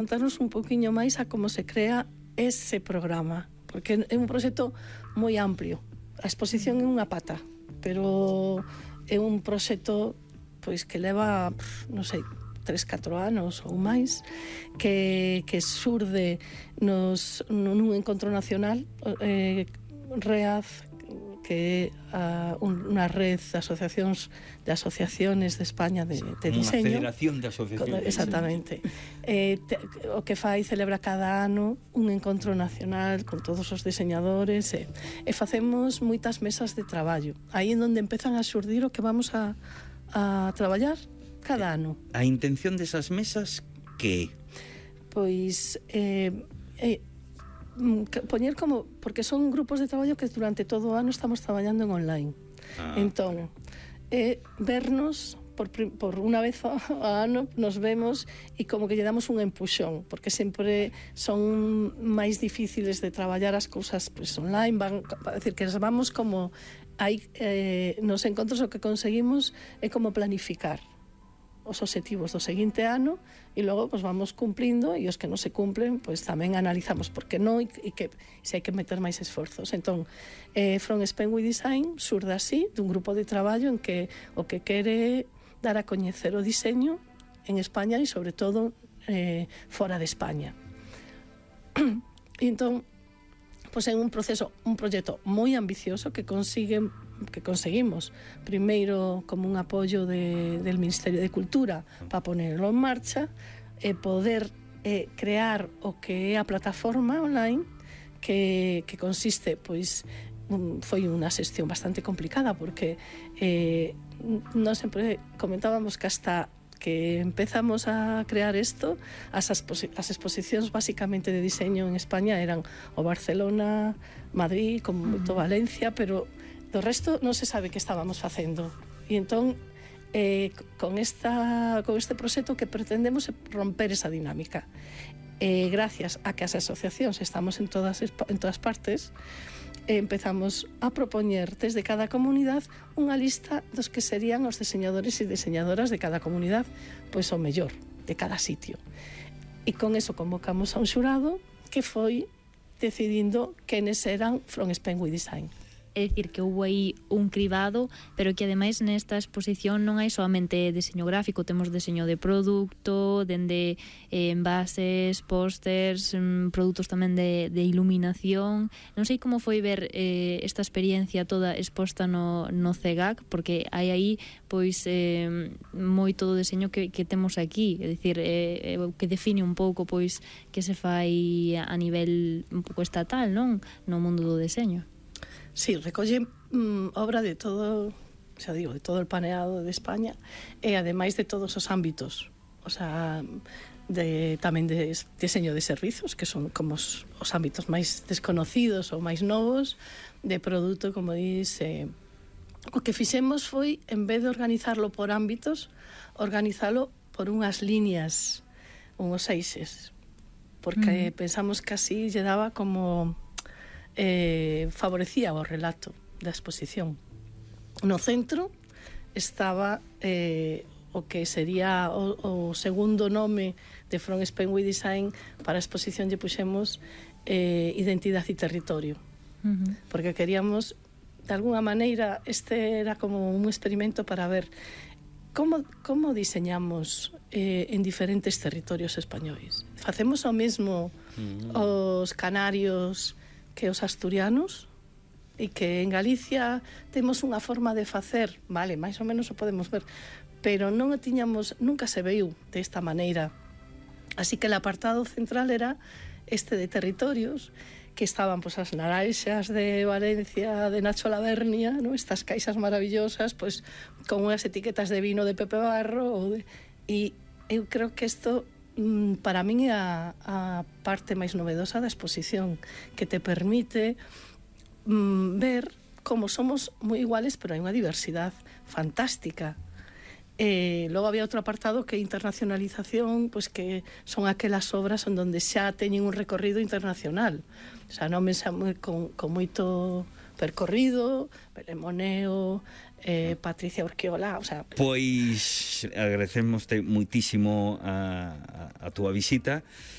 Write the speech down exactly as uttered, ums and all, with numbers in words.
contarnos un poquinho máis a como se crea ese programa, porque é un proxecto moi amplio. A exposición é unha pata, pero é un proxecto pois que leva, non sei, tres, catro anos ou máis, que, que surde nos, nun encontro nacional, eh, REAZ, que é uh, unha red de asociacións de asociaciones de España de, de diseño. Unha federación de asociacións. Exactamente. Eh, te, o que fai celebra cada ano un encontro nacional con todos os diseñadores e, e facemos moitas mesas de traballo. Aí en onde empezan a xurdir o que vamos a, a traballar cada ano. A intención desas mesas que? Pois eh, eh, poñer como, porque son grupos de traballo que durante todo o ano estamos traballando en online. Ah. Entón, eh, vernos por, por unha vez ao ano nos vemos e como que lle damos un empuxón, porque sempre son máis difíciles de traballar as cousas pues, online, van, a decir que vamos como hai, eh, nos encontros o que conseguimos é como planificar os obxectivos do seguinte ano e logo pues, vamos cumplindo e os que non se cumplen pues, tamén analizamos por que non e, e que se hai que meter máis esforzos. Entón, eh, From Spain We Design surde así dun grupo de traballo en que o que quere dar a coñecer o diseño en España e sobre todo eh, fora de España. E entón, pues, é un proceso, un proxecto moi ambicioso que consigue que conseguimos primeiro como un apoio de, del Ministerio de Cultura para ponerlo en marcha e poder eh, crear o que é a plataforma online que, que consiste, pois un, foi unha xestión bastante complicada porque eh, non sempre comentábamos que hasta que empezamos a crear isto, as, exposi- as exposicións basicamente de diseño en España eran o Barcelona, Madrid, como moito Valencia, pero do resto non se sabe que estábamos facendo. E entón, eh, con, esta, con este proxecto que pretendemos é romper esa dinámica. Eh, gracias a que as asociacións estamos en todas, en todas partes, eh, empezamos a propoñer desde cada comunidade unha lista dos que serían os diseñadores e diseñadoras de cada comunidade, pois o mellor de cada sitio. E con eso convocamos a un xurado que foi decidindo quenes eran From Spain We Design. É dicir, que houve aí un cribado, pero que ademais nesta exposición non hai solamente deseño gráfico, temos deseño de produto, dende eh, envases, pósters, mm, produtos tamén de, de iluminación. Non sei como foi ver eh, esta experiencia toda exposta no, no C E G A C, porque hai aí pois eh, moito deseño que, que temos aquí, é dicir, eh, que define un pouco pois que se fai a nivel un pouco estatal, non? No mundo do deseño. Sí, recolle mm, obra de todo, xa digo, de todo o paneado de España e ademais de todos os ámbitos, o sea, de, tamén de diseño de servizos, que son como os, os ámbitos máis desconocidos ou máis novos, de produto, como dice. O que fixemos foi, en vez de organizarlo por ámbitos, organizalo por unhas líneas, unhos eixes, porque mm. pensamos que así lle daba como... Eh, favorecía o relato da exposición. No centro estaba eh, o que sería o, o segundo nome de From Spain We Design. Para a exposición lle puxemos eh, identidade e territorio, uh-huh. porque queríamos, de alguna maneira, este era como un experimento para ver como, como diseñamos eh, en diferentes territorios españois. Facemos o mesmo uh-huh. os canarios que os asturianos, e que en Galicia temos unha forma de facer, vale, máis ou menos o podemos ver, pero non o tiñamos, nunca se veiu desta maneira. Así que el apartado central era este de territorios, que estaban pois as naranxas de Valencia, de Nacho Lavernia, ¿no? Estas caixas maravillosas, pois con unhas etiquetas de vino de Pepe Barro, ou de... e eu creo que isto para min é a, a parte máis novedosa da exposición, que te permite mm, ver como somos moi iguales, pero hai unha diversidade fantástica. Eh, logo había outro apartado que é internacionalización, pois que son aquelas obras onde xa teñen un recorrido internacional. O sea, non me con, con moito percorrido, Belén Moneo, eh, Patricia Urquiola, o sea... Pois agradecemos moitísimo a, a, a túa visita.